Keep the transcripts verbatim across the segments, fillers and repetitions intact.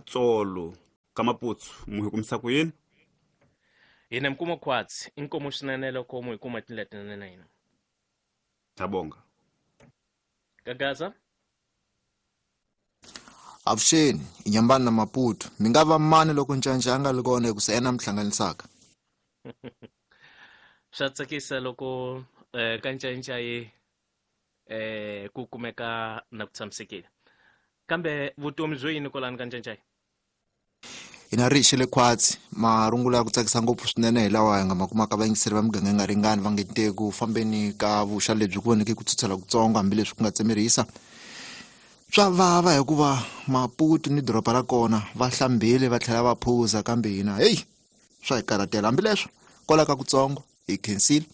Tsolo ka Maputsu mu hi kumisa ku yini? Hina mi kuma khwatsi inkomu swinene loko mu hi kuma tindlela tinene na hina. Tabonga. Gagaza. Avuxeni, Inyambani na Maputo. Mi nga va mani loko Ncaca a nga ri kona hikusa yena mi hlanganisaka? Swa tsakisa loko eh, ka Ncaca yi eh, ku kumeka na ku tshamisekile. Kambe vutomi byo yini kwalani ka Ncaca? Hina ri xile khwatsi, marungula ya ku tsakisa ngopfu swinene hi lawa hi nga ma kumaka vayingiseri va miganga yi nga ringani va nge te ku fambeni ka vuxa lebyi ku voneke ku tshutshela kutsongo hambileswi ku nga tsemerisa. Swa vava hikuva Maputo ni doroba ra kona va hlambile va tlhela va phuza, kambe hina heyi swa hi karhatela. Hambileswo kwala ka kutsongo hi khensile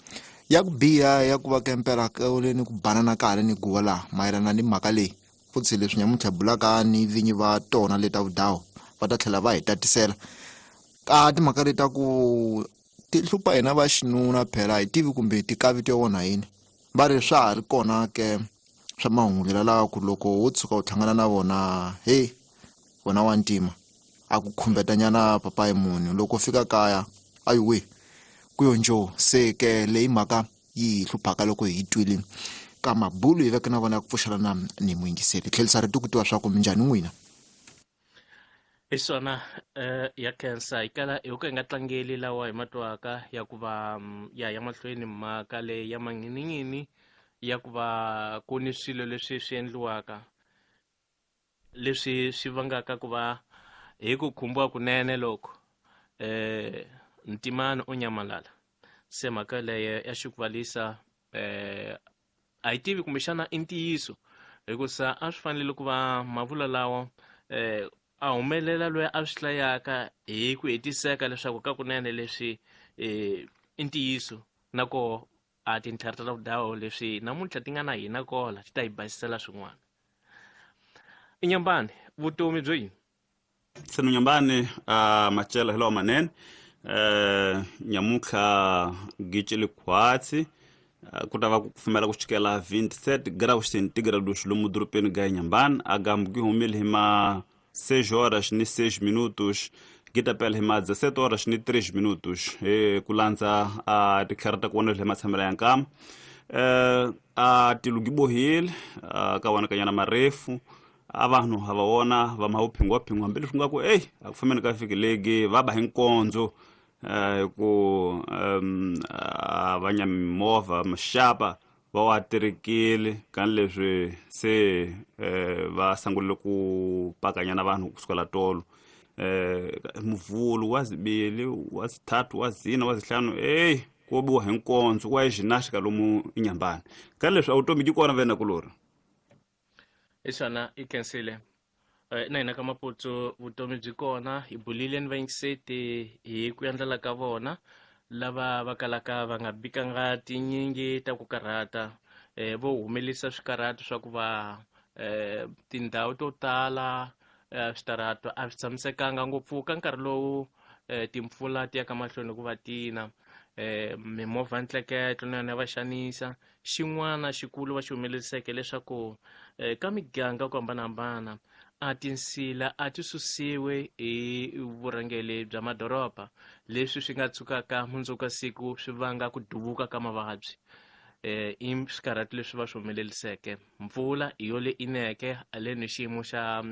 ya ku biha ya ku va kempela ni ku banana ka hala ni guwa laha mayelana ni mhaka leyi. Futhi leswi nyamuntlha bulaka ni vinyi va tona leta vudawu va ta tlhela va hi tatisela ka timhaka leti ta ku ti hlupha hina va xinuna, phela hi tivi kumbe ti kavito ya wona yini. Va ri swa ha ri kona ke swa mahungu lawa ku loko wo tshuka u hlangana na vona, hey wena wa ntima a ku khumbetanyana papayi munhu loko fika kaya ayiwe ku yo njo. Se ke leyi mhaka yi hi hluphaka loko hi twile ka mabulu hi veke na vona ya ku pfuxelana ni muyingiseri. Tlherisa rito ku tiva swa ku minjhani n'wina? Hi swona eh, ya khensa hi kala hi ku hi nga tlangeli lawa hi matwaka ya ku va ya ya mahlweni mhaka leyi ya mangininghini ya ku va ku ni swilo leswi swi endliwaka leswi swi vangaka ku va hi ku khumbiwa kunene loko eh Ntimani u nyamalala. Se mhaka leyo ya xikuvalisa eh a yi tivi kumbexana i ntiyiso, hikusa a swi fanele ku va mavula lawa eh a humelela loyi a swi hlayaka hi ku hetiseka leswaku ka kunene leswi eh i ntiyiso, na koho a tintlhari ta vudawu leswi namuntlha ti nga na hina kola ti ta hi basisela swin'wana. Inyambani, vutomi byo yini? Senu Nyambani, a machela hi lawa manene. Eh nyamuntlha gicile khwatsi ku ta va ku kufumela ku chikela twenty-seven graus centigrados lomu dorobeni ga Inhambane, a gambu gi humile hi ma seis horas ni seis minutos, gi ta pela hi ma dezessete horas ni três minutos, hi ku landza a titlhari ta ku vona hi matshamelo ya nkama. Eh a tilo gi bohile ka wona kanyana marefu a vanhu ha va vona va ma phingwa phingwa hambileswi nga ku ey a ku fambeni ka vhiki legi va ba hi nkondzo eh ku um a va nya mimovha maxapa va wa terekile kan leswi se eh va sungule ku pakanyana vanhu kusukela tolo. Eh muvulu wa zibili wa zithathu wa zina wa zihlanu ey ko biwa hi nkondzo wa ginástica lomu Inhambane. Kan leswi a vutomi byi kona vena kulori. Hi swona i khensile. Na hina ka Maputo vutomi byi kona, hi bulile ni vayingiseti hi ku endlela ka vona lava va kalaka va nga bikanga tinyingi ta ku karhata, eh vo humelisa swikarhato swa ku va eh tindhawu to tala switarata a swi tshamisekanga ngopfu ka nkarhi lowu timpfula ti ya ka mahlweni ku va tina, eh mimovha ntleketlo na yona va xanisa. Xin'wana xikulu va xi humeleriseke leswaku ka miganga ku hambanahambana a tinsila a ti susiwe hi vurhangeri bya madoroba, leswi swi nga tshukaka mundzuku ka siku swi vanga ku duvuka ka mavabyi. Eh i swikarhato leswi va swi humeleriseke. Mpfula hi yo le ineke haleni xiyimo xa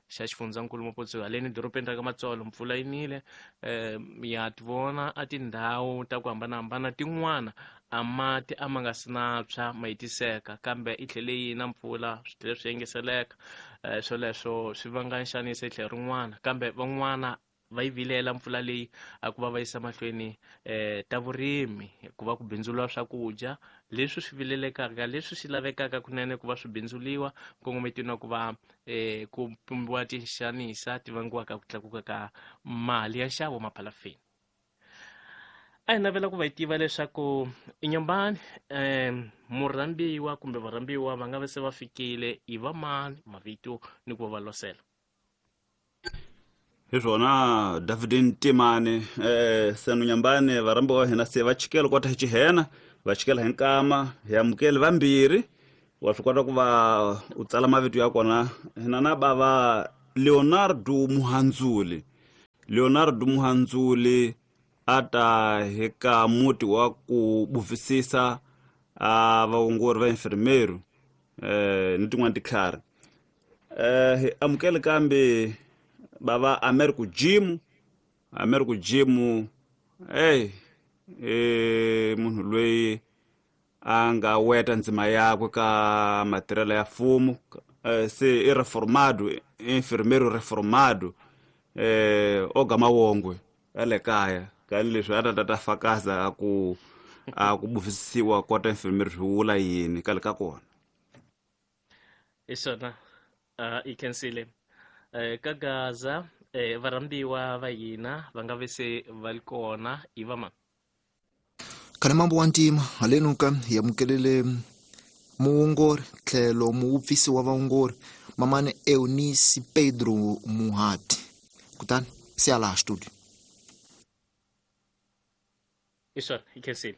xa xifundzankulu Maputo, haleni dorobeni ra ka Matsolo mpfula yi nile. Eh ya ti vona a tindhawu ta ku hambanahambana tin'wana a mati a ma nga si na tshwa ma hetiseka, kambe i tlhele yi na mpfula swi tlhele swi engeteleka. Eh swoleswo swi vanga nxaniso hi tlhelo rin'wana, kambe van'wana va yi vilela mpfula leyi a ku va va yisa mahlweni eh ta vurimi ku va ku bindzuriwa swakudya leswi swi vilelekaka, leswi swi lavekaka kunene ku va swi bindzuliwa kongometiwa na ku va eh ku pumbiwa tinxanisa ti vangiwaka ku tlakuka ka mali ya nxavo maphalafini. A hi navela ku va yi tiva leswaku Inhambane eh murhambiwa kumbe varhambiwa va nga va se va fikile i va mani, mavito ni ku va va losela. Hi swona David Ntimane eh Senu Nyambane varhambiwa hina se va chikela kota hi xihena va chikela hi nkama hi amukele vambirhi wa swi kota ku va u tsala mavito ya kona hina na bava Leonardo Muhanzuli. Leonardo Muhanzuli ata heka muti wa ku buvisisa a vaongori va enfermeiro eh ni tin'wana tikhari. Eh amukele kambe bava Americo Jim Americo Jim hey eh munhu loyi a nga weta ndzima yakwe ka matirhelo ya mfumo, se i reformado, enfermeiro reformado eh oga mawongwe ale kaya kani leswi a ta ta fakaza ku a ku buvisisiwa kota enfermeiro swi vula yini kale ka kona. Isona uh, ikensile eh, ka Gaza eh, varhambiwa va hina va nga ve se va li kona i va ma Kana mambo wa ntima haleno ka hi amukelele muongori tlhelo muupfisi wa vaongori mamane Eunice Pedro Muhati. Kutani se ala studio. Isona ikensile.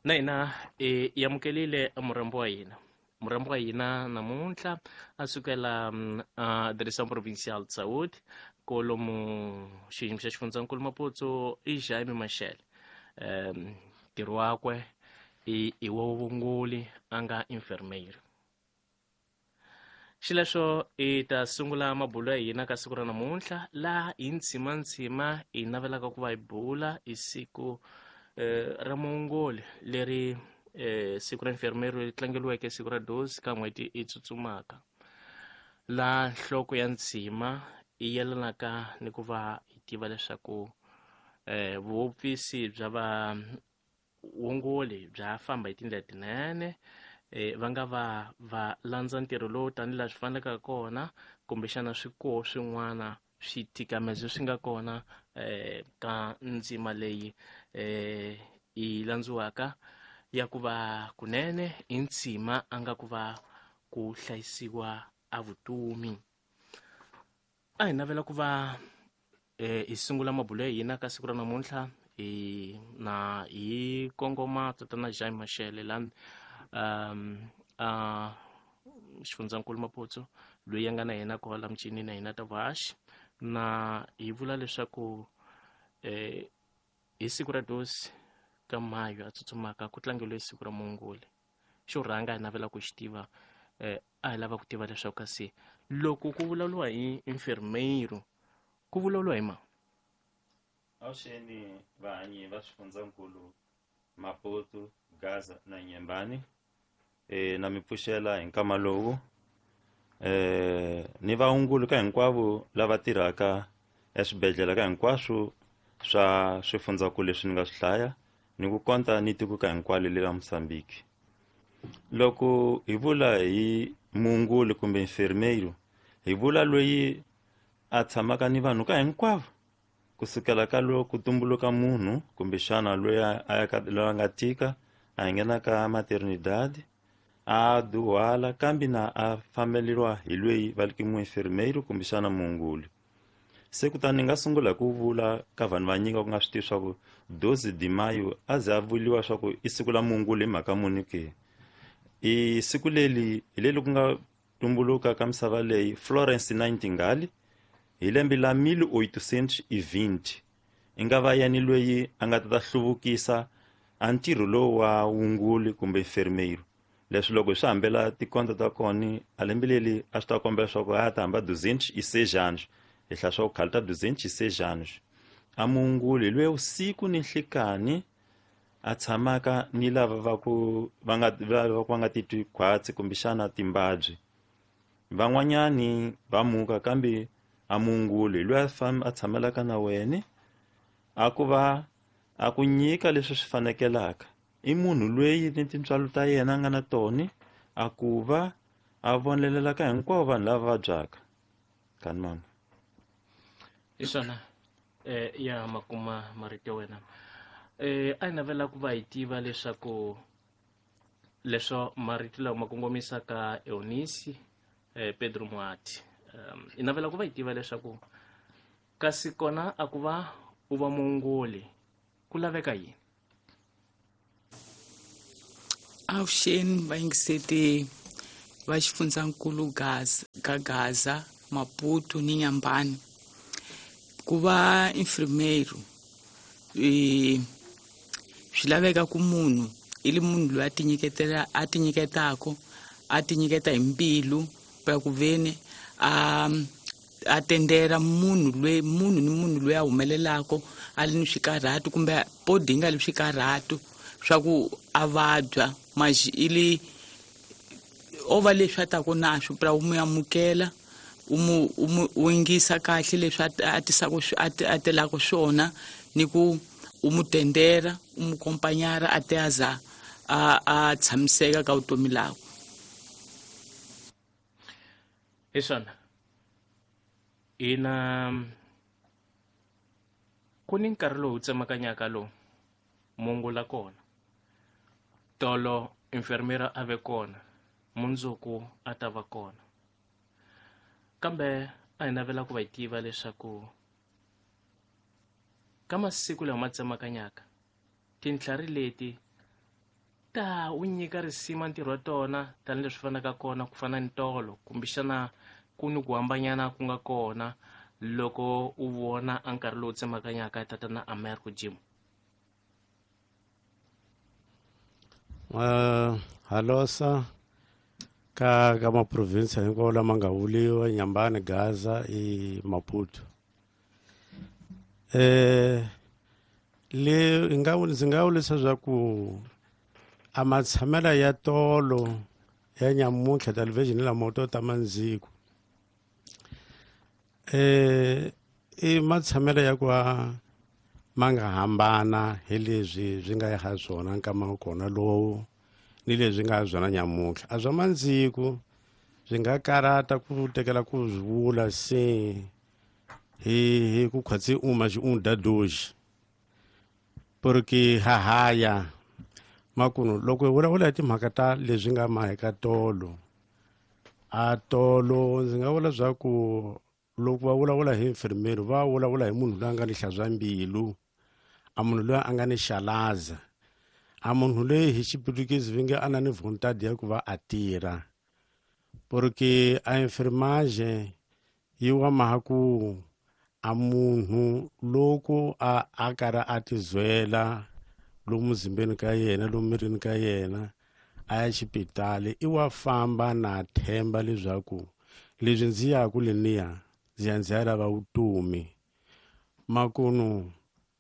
Na hina e amukelile murhambi wa hina. Murhambi wa hina namuntlha a sukela a Direção Provincial de Saúde kolomu xiyimo xa xifundzankulu Maputo i Jaime Machel. Um ntirho wakwe i i wa vuvunguli a nga enfermeiro. Xileswo i ta sungula mabulo ya hina ka siku ra namuntlha laha hi ntshimantsima hi navelaka ku va hi bula hi siku eh, ra muongoli leri eh, siku ra enfermeiro leri tlangeriweke siku ra dosi ka n'hweti i tsutsumaka, laha nhloko ya ntshima i yelanaka ni ku va hi tiva leswaku eh, vuopfisi bya vaongoli bya famba hi tindlela tinene, eh, va nga va va landza ntirho lowu tanihi laha swi faneleke kona, kumbexana swi koho swin'wana switikamezo swi nga kona eh, ka ndzima leyi eh, i landziwaka ya ku va kunene i ntshima a nga ku va ku hlayisiwa a vutomi. A hi navela ku va eh, hi sungula mabulo ya hina ka siku ra namuntlha hi na hi kongoma tatana Jaime Machel la um a xifundzankulu Maputo loyi a nga na yena kwala michini na hina ta vuhaxi, na hi vula leswaku eh, hi siku ra dosi ka mayo a tsutsumaka ku tlangeriwe siku ra muongoli. Xo rhanga hi navela ku xi tiva eh, a hi lava ku tiva leswaku kasi loko ku vulavuriwa hi enfermeiro ku vulavuriwa hi mani? Avuxeni vahanyi va xifundzankulu Maputo, Gaza na Nyembani. E, na mi pfuxela hi nkama lowu eh ni vaongoli ka hinkwavo lava tirhaka eswibedhlele ka hinkwaswo swa swifundzankulu leswi ni nga swi hlaya ni ku konta ni tiko ka hinkwalo le ra Mozambique. Loko hi vula hi muongoli kumbe enfermeiro hi vula loyi a tshamaka ni vanhu ka hinkwavo kusukela ka loko ku tumbuluka munhu kumbexana loyi a ya ka loyi a nga tika a nghena ka maternidade a duhala kambe na a fambeleriwa hi loyi va ri muenfermeiro kumbexana muongoli. Se kutani ni nga sungula hi ku vula ka vanhu vanyingi va ku nga swi tivi swa ku doze de maio a ze a vuriwa swa ku i siku la muongoli hi mhaka muni ke. I siku leri hi leri ku nga tumbuluka ka misava leyi Florence Nightingale hi lembe la mil oitocentos e vinte i nga va yena loyi a nga ta ta hluvukisa a ntirho lowu wa wunguli kumbe enfermeiro. Leswi loko hi swi hambela tikonto ta kona a lembe leri a swi ta kombela leswaku a ta hamba duzentos e seis anos hi hlaya swa ku khale ta duzentos e seis anos. A muongoli hi loyi vusiku ni nhlikani a tshamaka ni lava va ku va nga va ku va nga titwi khwatsi kumbexana timbabyi. Van'wanyani va muka kambe a muongoli hi loyi a famba a tshamelaka na wena a ku va a ku nyika leswi swi fanekelaka. I munhu loyi ni tintswalo ta yena a nga na tona a ku va a vonelelaka hinkwavo vanhu lava vabyaka. Kani mama. Hi swona eh, ya makuma marito ya wena. Eh, a hi navela ku va hi tiva leswaku leswo marito lawa ma kongomisaka Eunice eh, Pedro Muhati. Um, hi navela ku va hi tiva leswaku kasi kona a ku va u va muongoli ku laveka yini? Avuxeni vayingiseti va xifundzankulu Gaza, ka Gaza, Maputo ni Nyambani. Ku va enfermeiro e swi laveka ku munhu i li munhu loyi a tinyiketela a tinyiketaka a tinyiketa hi mbilu pa ku veni a a tendera munhu loyi munhu ni munhu loyi a humelelaka a li ni swikarhatu kumbe podinga li swikarhatu swa ku a vabya maxi i li o va leswi a taku na swo pra u mu amukela u mu u mu u yingisa kahle leswi a tisaka a telaka swona ni ku u mu tendera u mu kompanyara a te aza a a tshamiseka ka vutomi lakwe. Hi swona ina ku ni nkarhi lowu tsemakanyaka lowu mungula kona tolo enfermera a ve kona mundzuku a ta va kona kambe a hi navela ku va tiva leswaku ka masiku lawa ma tsemakanyaka tintlhari leti ta u nyika risima ntirho wa tona tanihileswi fanaka kona ku fana ni tolo kumbexana ku ni ku hambanyana ku nga kona loko u vona a nkarhi lowu tsemakanyaka tatana Americo Jim. Uh, halosa ka ka maprovinsi hinkwawo lama nga vuliwa Nyambani, Gaza i Maputo. Eh le nga ndzi nga vula leswaku a matshamela ya tolo ya nyamuntlha television la moto ta mandziku eh i matshamela ya ku ma nga hambana hi leswi swi nga ha swona nkama wa kona lowu ni leswi nga byona nyamuntlha a swa mandziku swi nga karata ku tekela ku swi vula se hi hi ku khwatsi uma xi un dadoji porque hahaya makuno loko hi vulavula hi timhaka ta leswi nga ma eka tolo a tolo ndzi nga vula swa ku loko va vulavula hi enfermero va vulavula hi munhu loyi a nga ni hlantswa mbilu a munhu loyi a nga ni xalaza a munhu loyi hi xiputukezi va nge a na ni vontade ya ku va a tirha porque a enfermagem yi wa maha ku a munhu loko a a karhi a tizwela lomu muzimbeni ka yena lomu mirini ka yena a ya xipitali i wa famba na themba leswaku leswi ndzi yaku leniya ndzi ya ndzi ya lava vutomi makunu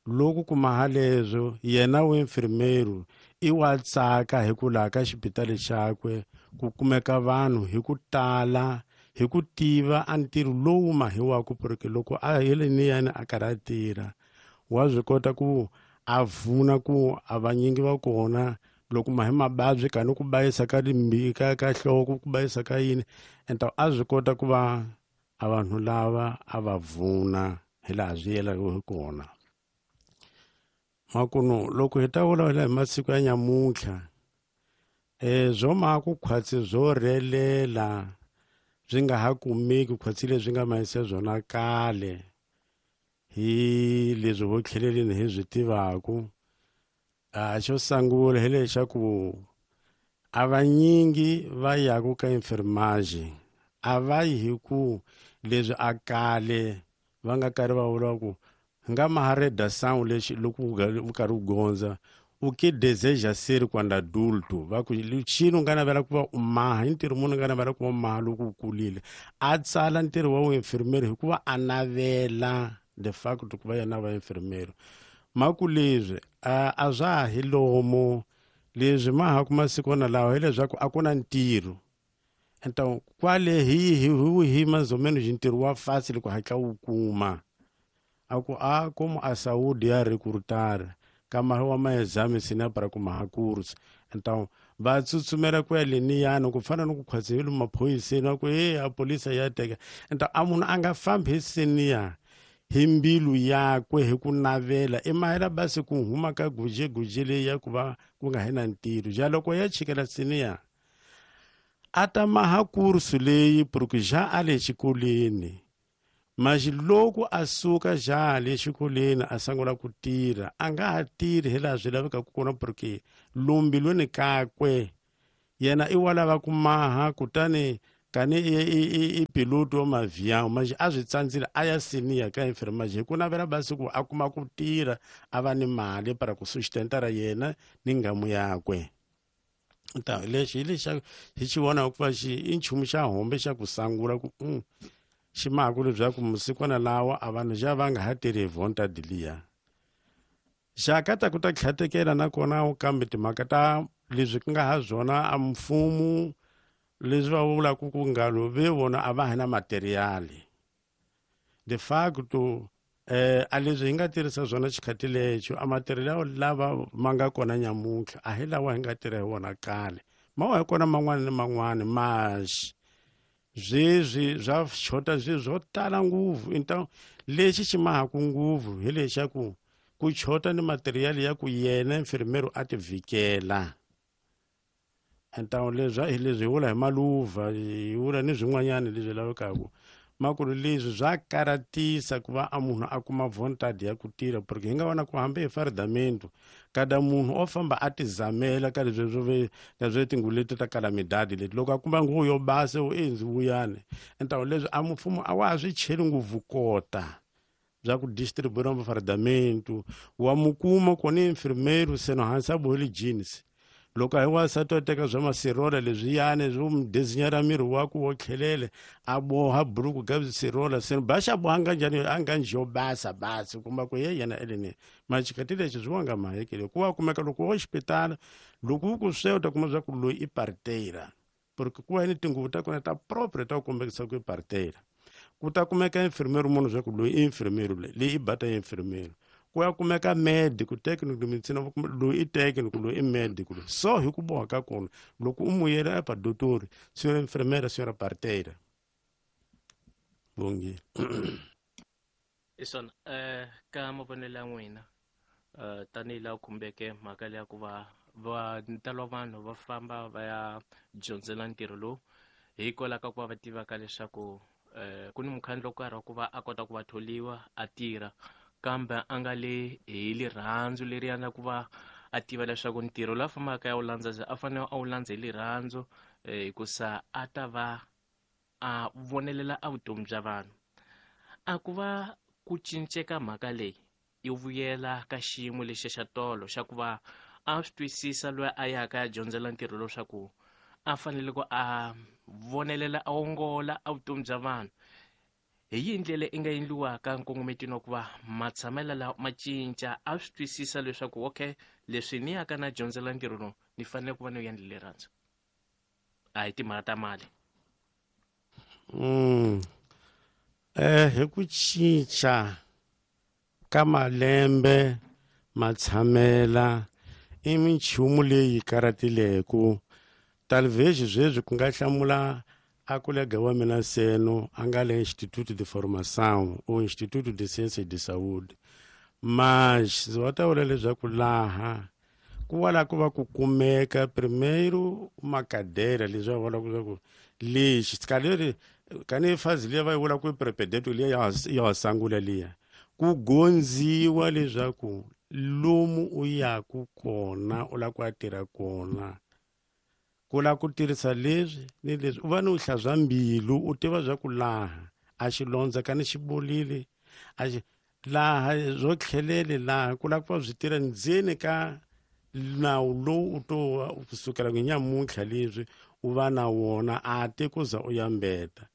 loko kuma haleswo yena wa enfermeiro i wa tsaka hi ku laha ka xipitali xakwe ku kumeka vanhu hi ku tala hi ku tiva a ntirho lowu mahiwaku porque loko a heleniyani a karhi a tirha wa swi kota ku a vuna ku a vanyingi va kona loko mahi mababyi kani ku bayisa ka ka ka nhloko ku bayisa ka yini enta a swi kota ku va a vanhu lava a va vuna hi laha swi yelaka hi kona makunu loko hi ta vulavula hi masiku ya nyamuntlha eh swo ma ku khwatsi swo rhelela swi nga ha kumeki khwatsi leswi nga mahise swona kale hi leswi vo tlheleleni hi swi tivaku a xo sungula hi lexaku a vanyingi va yaku ka enfermagem a va yi hi ku leswi a kale va nga karhi va vula ku nga mahareda sound lexi loko u karhi u gondza o que deseja ser quando adulto va ku xini u nga navela ku va u maha i ntirho munhu nga navela ku va maha loko u kulile a tsala ntirho wa vuinfermeri hikuva a navela the fact ku va yena va infermeri maku leswi a swa ha hi lomu leswi ma ha ku masikwana lawa hileswaku a ku na ntirho então kwale hi hi hi mais ou menos ntirho wa fácil ku hatla wu kuma a ku a como a saúde ya recrutar kama wa maexame sina para kuma ha curso então va tsutsumela ku ya leniyani ku fana ni ku khwatsivile maphoyiseni va ku e a polisa ya teka então a munhu a nga fambi hi seniya hi mbilu yakwe hi ku navela i mahela basi ku huma ka gujeguje leyi ya ku va ku nga hi na ntirho ja loko ya chikela seniya a ta maha kursu leyi porque já a le xikolweni mas loko a suka já le xikolweni a sungula ku tirha a nga ha tirhi hi laha swi lavekaka kona porque lombilweni kakwe Yena i wa lava ku maha kutani kani i i i piloto wa mavião mas a swi tsandzile a ya senior ka enfermagem hi ku navela basi ku a kuma ku tirha a va ni mali para ku sustentara yena ni ngamu yakwe. Ta lexi hi lexa hi xi vonaka ku va xi i nchumu xa hombe xa ku sangula ku mm, xi maku leswaku masikwana lawa a vanhu xa va nga ha tirhi hi vontade liya. Xa ka ta ku ta tlhatekela nakona kambe timhaka ta leswi ku nga ha swona a mfumo leswi va vulaka ku ngalo ve vona a va ha na materiali. De facto eh a leswi hi nga tirhisa swona xikhathi lexo a material lava ma nga kona nyamuntlha a hi lawa hi nga tirha hi wona kale ma wa hi kona man'wana ni man'wana mas sweswi swa xota swilo swo tala ngopfu. Então lexi xi mahaku ngopfu hi lexaku ku chota ni material ya ku yena enfermeiro a ti vhikela. Então leswi hi leswi hi vula hi maluva hi vula ni swin'wanyana leswi lavekaka makulu leswi swa karatisa ku va a munhu a kuma vontade ya ku tirha porque hi nga vona ku hambi hi fardamento kada munhu o famba a tizamela ka leswi swo ve ka swo tinguvu leti ta calamidade leti loko a kuma nguvu yo basa u endzi vuyani. Então leswi a mfumo a wa ha swi cheli ngopfu kota bya ku distribuir mafardamento wa mukuma kona enfermeiro seno hansi a bohile jeans loko a hi wansati wa teka swa masirola leswiyani swo mu dezinyara miri wa ku wo tlhelele a boha buruku ka sirola seno ba xa boha nga njhani a nga njhe yo basa basi kuma ku ye yena eleni maxikati lexi swi wanga mahekele ku wa kumeka loko wo xipitala loko u ku swe u ta kuma swa ku loyi i parteira porque ku va ni tinguvu ta kona ta propre ta ku kombekisa ku i parteira. Ku ta kumeka enfermeiro munhu swa ku loyi i enfermeiro leyi i bata enfermeiro. Ku ya kumeka médico técnico de medicina loyi i técnico loyi i médico so hi ku boha ka kona loko u muyela epa doutor senhora enfermeira senhora parteira. Bongile. Isona eh ka mavonelo ya n'wina eh tanihi laha khumbeke mhaka leya ku va va ntalo wa vanhu va famba va ya dyondzela ntirho lowu hikwalaho ka ku va va tivaka leswaku eh ku ni mukhandlu wo karhi wa ku va a kota ku va tholiwa a tirha kambe a nga le hi rirhandzu leriya na ku va a tiva leswaku ntirho lowu a fambaka ya wu landza a fanele a wu landza hi rirhandzu hikusa a ta va a vonelela a vutomi bya vanhu. A ku va ku cinceka mhaka leyi yi vuyela ka xiyimo lexi xa tolo xa ku va a swi twisisa loyi a yaka ya dyondzela ntirho leswaku a fanele ku a vonelela a ongola a vutomi bya vanhu. Hi yihi ndlela i nga endliwaka nkongometweni wa ku va matshamelo lawa ma cinca a swi twisisa leswaku okay leswi ni yaka na dyondzela ntirho lowu ni fanele ku va ni endle rirhandzu a hi timhaka ta mali. Mm. Eh hi ku cinca ka malembe matshamela i minchumu leyi karatileku talvez sweswi ku nga hlamula a colega wa mina seno a nga le Instituto de Formação ou Instituto de Ciências de Saúde mas va ta vula leswaku laha ku wala ku va ku kumeka primeiro uma cadeira leswi va vulaka leswaku lexi kaleri kani fazi liya va yi vula ku i prepedeto liya ya ya sangula liya ku gondziwa leswaku lomu u yaku kona u lava ku ya tirha kona ku lava ku tirhisa leswi ni leswi u va ni u hlantswa mbilu u tiva swa ku laha a xilondza kani xi bolile a xi laha swo tlhelele laha ku lava ku va swi tirha ndzeni ka nawu lowu u to kusukela ku nyamuntlha leswi u va na wona a te ku za u ya mbeta.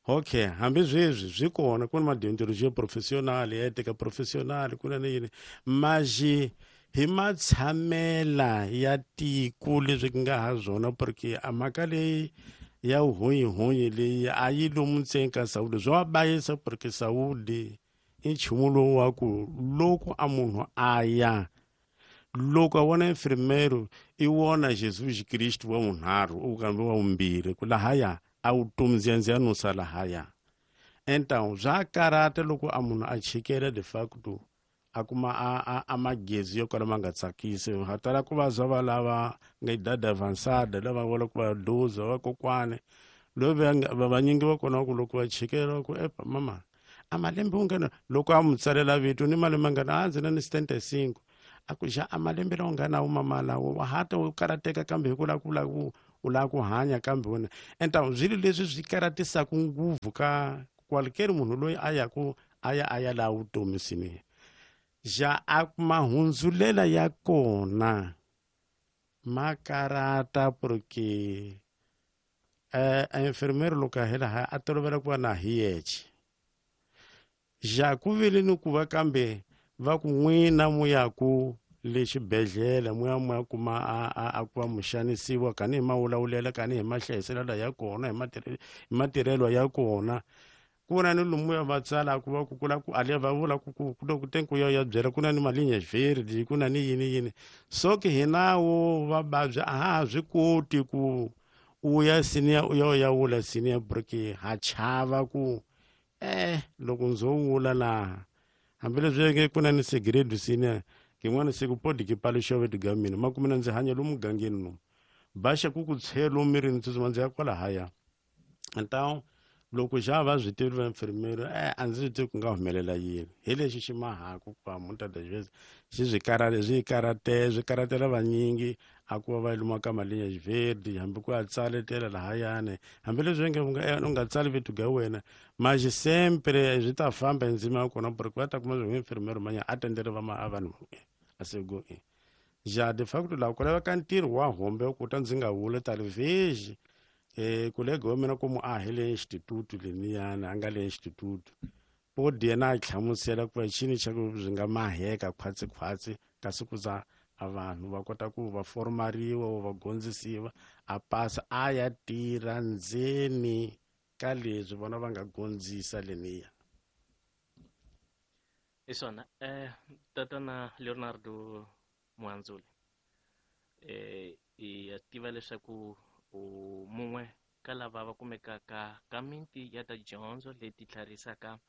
Okay hambi sweswi swi kona ku na madeontologia professional ética professional ku na ni yini maxi hi matshamela ya tiko leswi ku nga ha swona porque a mhaka leyi ya vuhonyihonyi leyi a yi lomu ntsena ka Saúde swo va bayisa porque Saúde i nchumu lowu wa ku loko a munhu a ya loko a vona enfermeiro i wona Jesus Cristo wa vunharhu u kambe wa vumbirhi ku lahaya a vutomi ndziya nusa lahaya. Então swa karata loko a munhu a chikela de facto a kuma a a, a magezi yo kala ma nga tsakisi ha tala ku va zwa va lava nga idade avançada lava vula ku va doza va kokwane loyi va vanyingi va kona ku loko va chikela ku epa mama a malembe u ngana loko a mu tsalela vito ni malembe mangana a ndzi na ni setenta e cinco a ku xa a malembe lawa nga na wo mama lawo wa hata u karateka kambe hi ku lava ku lava ku u lava ku hanya kambe wena enta swilo leswi swi karatisaka ngopfu ka qualquer munhu loyi a ya ku a ya a ya laha vutomi swinene ja a mahundzulela ya kona ma karata porque eh a enfermeiro loko a hela ha a tolovela ku va na hi yexe ja ku vile ni ku va kambe va ku n'wina mu ya ku le xibedhlele mu ya mu ya kuma a a a ku va muxanisiwa kani hi mawulawulela kani hi mahlayiselelo ya kona hi matirhelo hi matirhelo ya kona ku na ni lomu ya va tsala ku va ku kula ku ale va vula ku ku ku ku ku ya ya byela ku na ni malinha verde ku na ni yini yini so ke hina wo va vabya a ha swi koti ku u ya senior u ya ya wula senior porque ha chava ku eh loko ndzo wula laha hambileswi nge ku na ni segredo senior kin'wana siku podi ki paluxa vetu ga mina ma kumina ndzi hanya lomu mugangeni lomu baxa ku ku tshelo mirini tsutsuma ndzi ya kwalahaya então loko xa va swi tivi va enfermeiro eh a ndzi swi tivi ku nga humelela yini hi lexi xi mahaku ku va muta das vezes xi swi karate swi karate swi karatela vanyingi a ku va va luma ka malinha verde hambi ku ya tsaletela lahayani hambileswi nge u nga tsali vetu ga wena mas sempre swi ta famba ndzima ya kona porque va ta kuma swi enfermeiro manya a tendele va ma vanhu a sego ja de facto laha ku laveka ntirho wa hombe ku ta ndzi nga wula talvez eh kolega wa mina como a hi le instituto leniyana a nga le instituto podi yena a hlamusela ku va xini xa ku swi nga maheka khwatsi-khwatsi kasi ku za a vanhu va kota ku va formariwa va gondzisiwa a pasa a ya tirha ndzeni ka leswi vona va nga gondzisa leniya hi swona eh tatana Leonardo Muhandzuli eh i tiva leswaku u mun'we ka lava va kumekaka ka miti ya ta dyondzo leti tlharisaka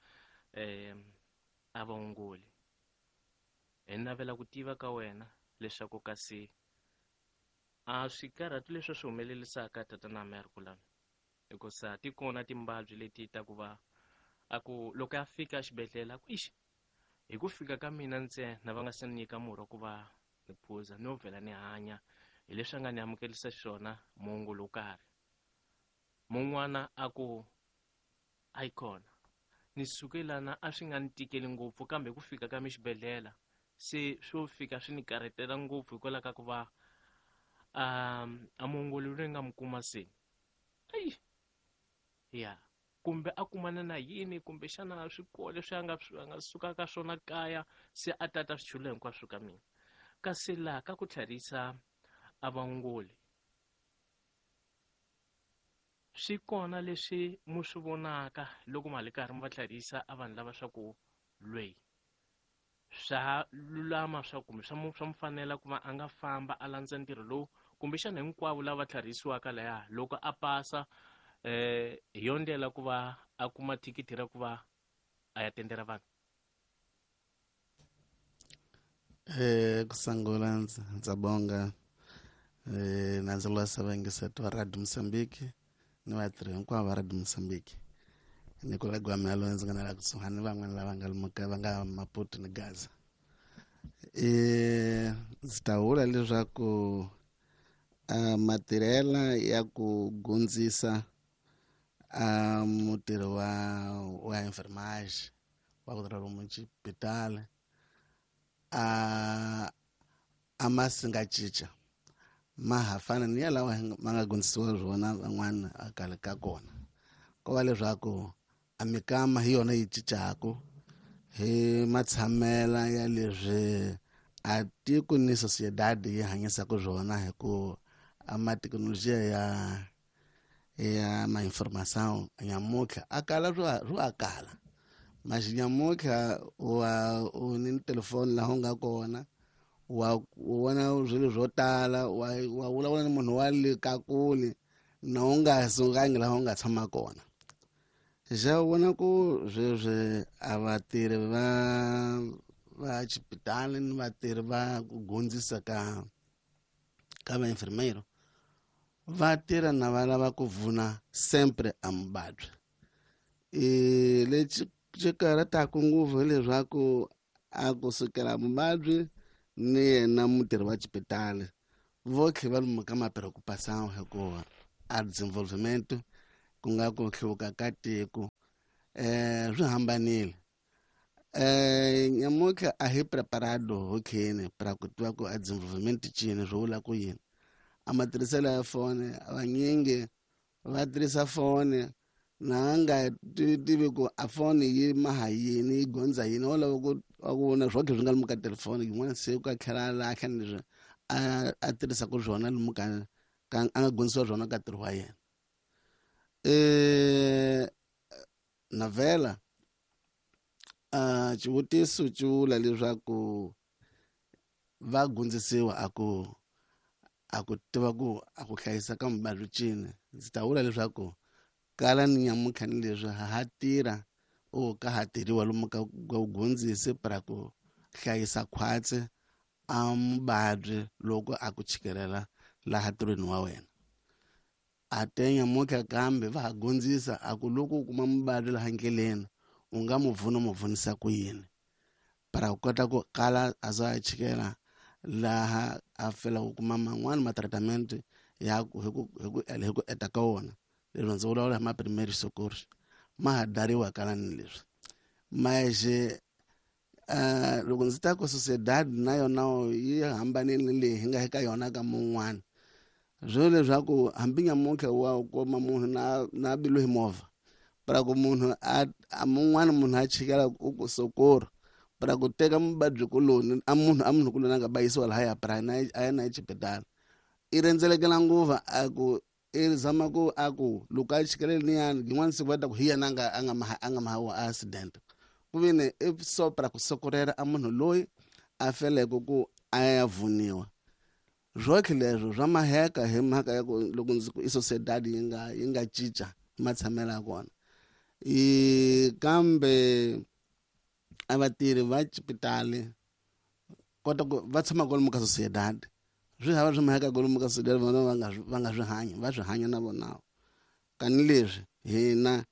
eh a vaongoli hi navela ku tiva ka wena leswaku kasi a swikarhati leswi swi humelelisaka tatana Merkulana hikusa ti kona timbabyi leti ta ku va a ku loko a fika exibedhlele a ku ixi hi ku fika ka mina ntsena va nga se ni nyika murhi wa ku va ni phuza no vhela ni hanya hi leswi a nga ni amukelisa xiswona muongoli wo karhi mun'wana a ku a yi kona ni suke lana a swi nga ni tikeli ngopfu kambe ku fika ka mi xibedhlele se swo fika swi ni karhetela ngopfu hikwalaho ka ku va um a muongoli loyi nga mi kuma se ayi ya kumbe a kumana na yini kumbe xana swikolo leswi a nga a nga suka ka swona kaya se a tata swichulo hinkwaswo ka mina kasi laha ka ku tlharisa a vaongoli swi kona leswi mu swi vonaka loko ma li karhi mi va tlharisa a vanhu lava swa ku lweyi swa lulama swa kumbe swa mu swa mu fanela ku va a nga famba a landza ntirho lowu kumbexana hinkwavo lava tlharisiwaka laya loko a pasa eh hi yo ndlela ku va a kuma thikithi ra ku va a ya tendela vanhu eh kusangula ndza bonga eh na ndzi lwasa vayingiseti va Radio Mozambique ni vatirhi hinkwavo va Radio Mozambique ni kolega wa mina loyi ndzi nga na la kusuhani ni van'wana lava nga lomuka va nga Maputo ni Gaza eh ndzi ta vula leswaku a matirhela ya ku gundzisa a mutirhi wa wa enfermage wa ku tirha lomu xibedhlele a a ma si nga cinca ma ha fana ni ya lawa ma nga gundzisiwa swona van'wana a khale ka kona ko va leswaku a mikama hi yona yi cincaku hi matshamela ya leswi a tiko ni sociedade yi hanyisaka swona hi ku a mathekinolojiya ya ya ma informação nyamutlha a kala swo swo a kala mas nyamutlha wa u ni telefoni laha u nga kona wa vona swilo swo tala wa wa vulavula ni munhu wa le ka kule na u nga sukangi laha u nga tshama kona xa vona ku sweswi a vatirhi va va xipitali ni vatirhi va ku gundzisa ka ka va enfermeiro va tirha na va lava ku vuna sempre a muvabyi e lexi xi karhataka ngopfu hileswaku a kusukela muvabyi ni yena mutirhi wa xipitali Votlhe va lomu ka ma-preocupação hikuva a desenvolvimento ku nga ku hluvuka ka tiko um swi hambanile. Um nyamuntlha a hi preparado hokheni para ku tiva ku a desenvolvimento cini swi vula ku yini. A matirhiselo ya foni vanyingi va tirhisa foni na nga tivi ku a foni yi maha yini yi gondza yini wo lava ku ku vona swotlhe swi nga lomu ka telefoni yin'wana siku a tlhela a lahla ni leswi a a tirhisaka swona lomu ka ka a nga gondzisiwa swona ka ntirho wa yena. Um navela a xivutiso xi vula leswaku va gondzisiwa a ku a ku tiva ku a ku hlayisa ka muvabyi cini. Ndzi ta vula leswaku kala ni nyamuntlha ni leswi ha ha tirha o ka ha tirhiwa lomu ka ka vugondzisi para ku hlayisa khwatsi a muvabyi loko a ku chikelela laha ntirhweni wa wena. A te nyamuntlha kambe va ha gondzisa a ku loko u kuma muvabyi laha ndleleni u nga mu pfuna u mu pfunisa ku yini para ku kota ku kala a za a chikela laha a fela ku kuma man'wani ma-treatment ya ku hi ku hi ku hi ku eta ka wona. Leswi ndzi vulavula hi ma-primary socorro ma ha dariwa kala ni leswi maje uh, loko ndzi ta ku sociedad na yona yi hambanile leyi hi nga eka yona ka mun'wana swo leswaku hambi nyamuntlha wa kuma munhu na na bilu hi movha para ku munhu a a mun'wana munhu a chikela ku ku socorro para ku teka muvabyi kuloni a munhu a munhu kuloni a nga bayisiwa lahaya para na a ya na exibedhlele i rhendzelekela nguva a ku i zama ku a ku loko a chikelele niyani yin'wana siku va ta ku hi yena a nga a nga maha a nga maha wa accident ku vini i so para ku sokorela a munhu loyi a feleke ku a ya vuniwa. Swotlhe leswo swa maheka hi mhaka ya ku loko ndzi ku i sociedad yi nga yi nga cinca matshamelo ya kona. I kambe a vatirhi va xipitali kota ku va tshama kwalomu ka sociedad swi hava swi maheka kwalomu ka sociedad vona va nga va nga swi hanyi va swi hanya na vona. Kani leswi hina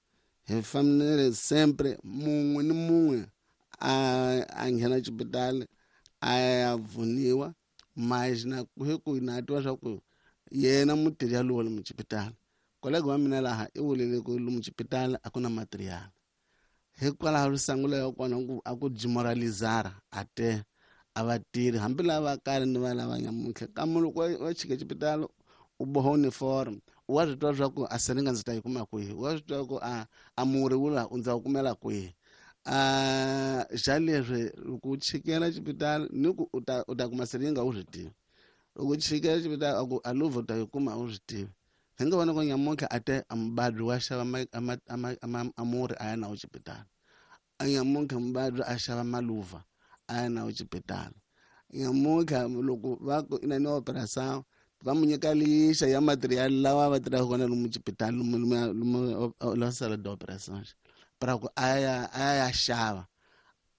hi fanele sempre mun'we ni mun'we a a nghena xipitali a ya pfuniwa mas na hi ku na twa swa ku yena mutirhi yalowo lomu xipitali kolega wa mina laha i vulile ku lomu xipitali a ku na material hikwalaho risangulo ya kona ku a ku demoralizara a te a vatirhi hambi lava kale ni va lava nyamuntlha kambe loko wa chika xipitali u boha uniform wa swi twa swa ku a siringa ndzi ta yi kuma kwihi wa swi twa ku a a murhi wu la u ndza wu kumela kwihi. A xa leswi loko u chikela xipitali ni ku u ta u ta kuma siringa u swi tivi loko u chikela xipitali a ku a luvha u ta yi kuma u swi tivi. Hi nga vona ku nyamuntlha a te a muvabyi wa xava a murhi a ya na wo xipitali a nyamuntlha muvabyi a xava maluva a ya na wo xipitali nyamuntlha loko va ku ina ni operação va mu nyika lixa ya material lawa va tirhaka kona lomu xipitali lomu lomu la sala de operação para ku a ya a ya xava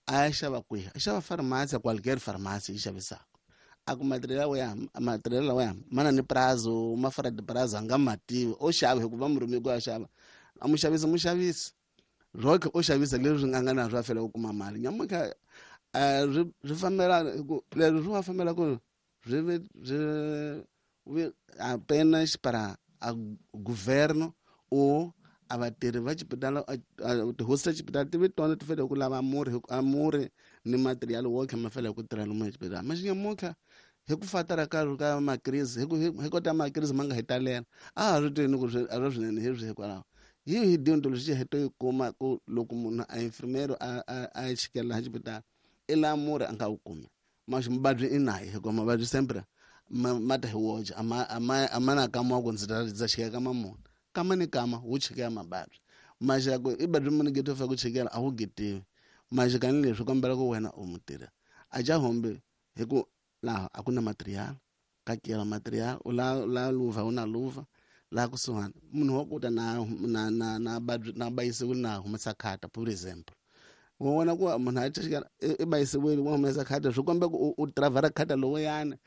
a ya xava kwihi a xava farmasi qualquer farmasi yi xavisaka a ku material ya material lawa ya mana ni prazo ma fara de prazo a nga ma tivi o xava hikuva murimi ku ya xava a mu xavisa mu xavisa roke o xavisa leswi nga nga na swa fela ku kuma mali nyamuntlha swi swi fambela ku leswi swi va fambela ku swi swi apenas para a governo ou a vatirhi va xipitali tihosi ta xipitali ti vi tona ti fanele ku lava murhi a murhi ni material wo tlhela ma fanele ku tirha lomu exibedhlele mas nyamuntlha hi ku fatara ka ka makrisi hi ku hi kota makrisi ma nga hi talela a ha swi tivi ni ku swi a swi swinene hi swi hikwalaho hi hi deontology hi to yi kuma ku loko munhu a infirmero a a a chikela xipitali i laha murhi a nga wu kumi mas muvabyi i naye hikuva mavabyi sempre ma ma ta hi woxe a ma a ma a ma na kama wa ku ndzi ta ndza chikela ka mamona kama ni kama wu chikela mavabyi maxaku i badri munhu geto fa ku chikela a wu getiwi maxikani leswi kombela ku wena u mutirhi a ja hombe hi ku laha a ku na material ka kela material u la la luva u na luva laha kusuhani munhu wa kuta na na na na badri na bayisiwile na humesa khata for example wa vona ku munhu a chikela i bayisiwile wa humesa khata swi komba ku u travara khata lowuyani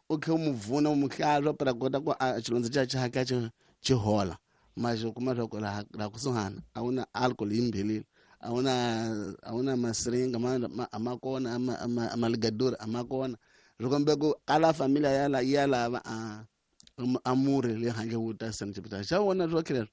u khe u mu vuna u mu hlantswa para kota ku a xilondza xa xa xa xi xi hola mas u kuma swa ku laha laha kusuhani a wu na alcohol yi mbhelile a wu na a wu na masiringa ma a ma kona a ma a ma ligadori a ma kona Swi kombe ku kala familia ya la ya lava a a murhi le handle wu ta sena xipitali xa vona swo leswo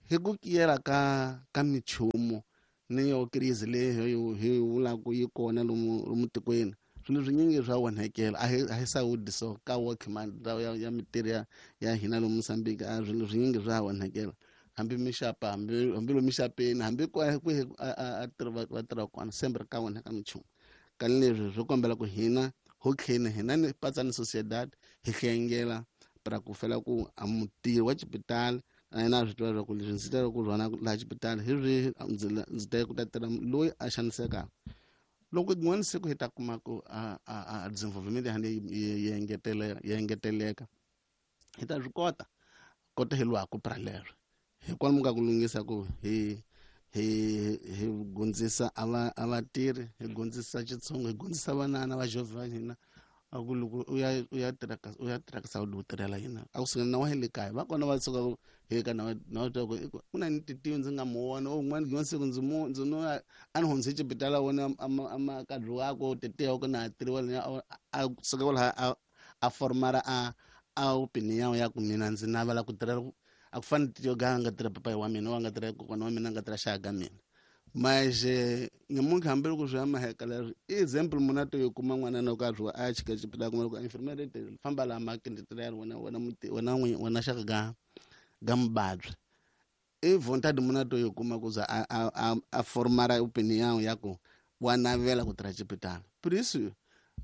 hi ku kiyela ka ka minchumu ni yo crise leyi hi vulaka yi kona lomu lomu tikweni swilo swinyingi swa onhakela a hi a hi sawudi so ka workman ya ya mitirho ya ya hina lomu Mozambique a swilo swinyingi swa onhakela hambi mixapa hambi hambi lomu mixapeni hambi kwihi a tirha va tirha kona sempre ka onhaka minchumu kani leswi swi kombela ku hina ho tlheni hina ni patsa ni sociedad hi hlengela para ku fela ku a mutirhi wa xipitali na yena a swi tiva leswaku leswi ndzi teleke ku rhwana laha xipitali hi swihi ndzi tele ku ta tirha loyi a xanisekaka loko rin'wana siku hi ta kuma ku a a a desenvolvement ya yi engeteleka yi engeteleka hi ta swi kota kota hi lwaku pra leswo hi kwalomu ka ku lunghisa ku hi hi hi gundzisa a va a vatirhi hi gundzisa Xitsonga hi gundzisa vanana va jovha va hina a ku loko u ya u ya tirha ka u ya tirha ka Saudi u tirhela yina a ku suka na wa le kaya va kona va suka hi ka na na twa ku ku na ni titiwi ndzi nga mu vona un'wana rin'wana siku ndzi mu ndzi no a ni hundze xipitala wona a ma kadri wako titiwa ku na tirhiwa a suka kwalaho a a formara a a opinion ya ku mina ndzi navela ku tirhela a ku fani titiwa ga nga tirha papayi wa mina wa nga tirha kokwana wa mina nga tirha xaka ka mina mas nyamuntlha hambi loko swi ya maheka leswi i example munhu a to yi kuma n'wana na karhi a ya chika xipitala kuma loko infirmary famba laha makini tirhela wena wena muti wena n'winyi wena xaka ga ga mubabyi i vontade munhu a to yi kuma ku za a a a formara opinion ya ku wa navela ku tirha xipitala por isso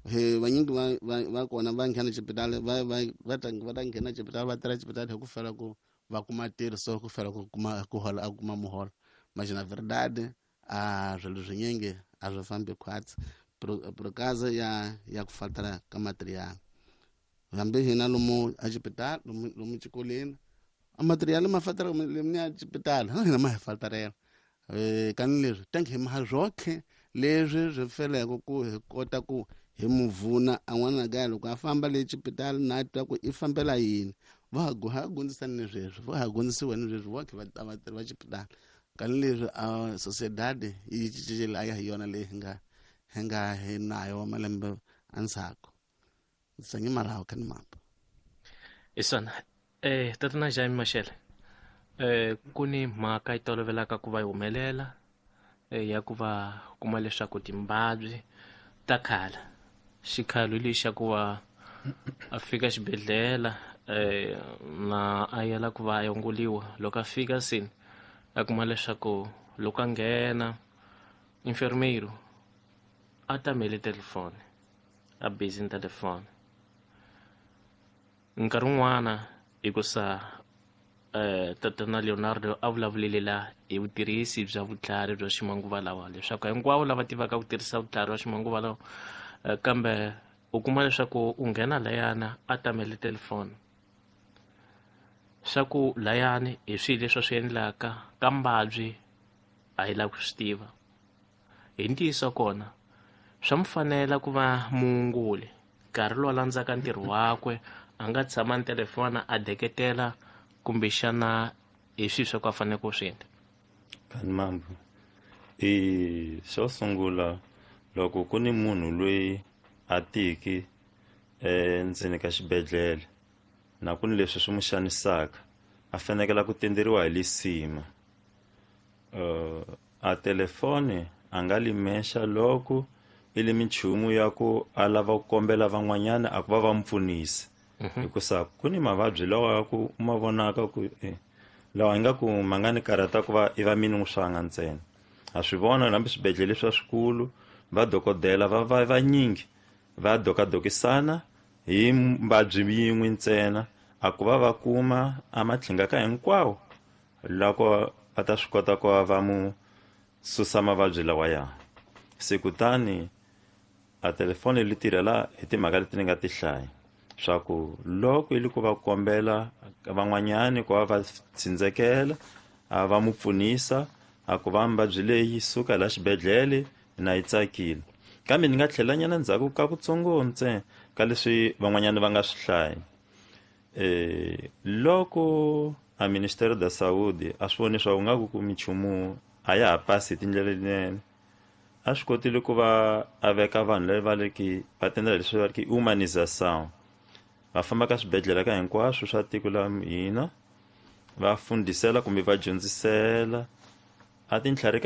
he vanyingi va va kona va nghena xipitala va va va ta va ta nghena xipitala va tirha xipitala hi ku fela ku va kuma ntirho so ku fela ku kuma ku hola a kuma muholo mas na verdade a swilo swinyingi a swi fambi khwatsi por causa ya ya ku faltara ka material hambi hina lomu a xipitala lomu lomu xikolweni a material ma faltara lomu ya xipitala hina ma hi faltarela eh kani leswi tanki hi ma zwoke leswi swi feleke ku hi kota ku hi muvuna a n'wana ga loko a famba le xipitala na twa ku i fambela yini va ha gundzisana ni sweswi va ha gundzisiwa ni sweswi va khe va vatirhi va xipitala kani leswi a sociedad yi cincile a ya hi yona leyi hi nga hi nga hi nayo malembe endzhaku ndzi marawu kani mambo isona eh tatana Jaime Mashele eh ku ni mhaka yi tolovelaka ku va yi humelela ya ku va kuma leswaku timbabyi ta khala xikhalo lexi xa ku va a fika xibedhlele eh na a yela ku va a yongoliwa loko a fika sini a kuma leswaku loko a nghena enfermeiro a tamele telefoni a busy ni telefoni nkarhi wun'wana hikusa eh tatana Leonardo a vulavulile la hi vutirhisi bya vutlhari bya ximanguva lawa leswaku hinkwavo lava tivaka ku tirhisa vutlhari bya ximanguva lawa kambe u kuma leswaku u nghena layana a tamele telefoni swa ku layani hi swilo leswi swi endlaka ka mbabyi a hi lavi ku swi tiva hi ntiyiso kona swa mu fanela ku va muunguli nkarhi lowu a landzaka ntirho wakwe a nga tshama ni telefona a deketela kumbexana hi swilo swa ku a fanele ku swi endla kani mambo i xo sungula loko ku ni munhu loyi a tiki endzeni ka xibedhlele na ku ni leswi swi n'wi xanisaka a fanekela ku tenderiwa hi lisima uh, a telefoni a nga limexa loko i li minchumu ya ku a lava ku kombela van'wanyana a ku va va mu pfunisa hikusa ku ni mavabyi lawa ya ku u ma vonaka ku eh, lawa ingaku ma nga ni karhata ku va i va mini n'wi swanga ntsena ha swi vona hambi swibedhlele swa swikulu va dokodela va va vanyingi va dokadokisana hi mbabyi yin'we ntsena a ku va va kuma a matlhinga ka hinkwawo loko va ta swi kota ku va va mu susa mavabyi lawaya se kutani a telefoni li tirhela hi timhaka leti ni nga ti hlaya swa ku loko i li ku va kombela van'wanyani ku va va tsindzekela a va mu pfunisa a ku va mbabyi leyi suka la xibedhlele na yi tsakile kambe ni nga tlhelanyana ndzhaku ka kutsongo ntsena ka leswi van'wanyana va nga swi hlaya eh loko a Ministério da Saúde a swi voni swa ku nga ku ku minchumu a ya ha pasi hi tindlela letinene A swi kotile ku va a veka vanhu lava va le ki va tendela leswi va ri ki humanisation, va famba ka swibedhlele ka hinkwaswo swa tiko la hina, va fundisela kumbe va dyondzisela a tintlhari.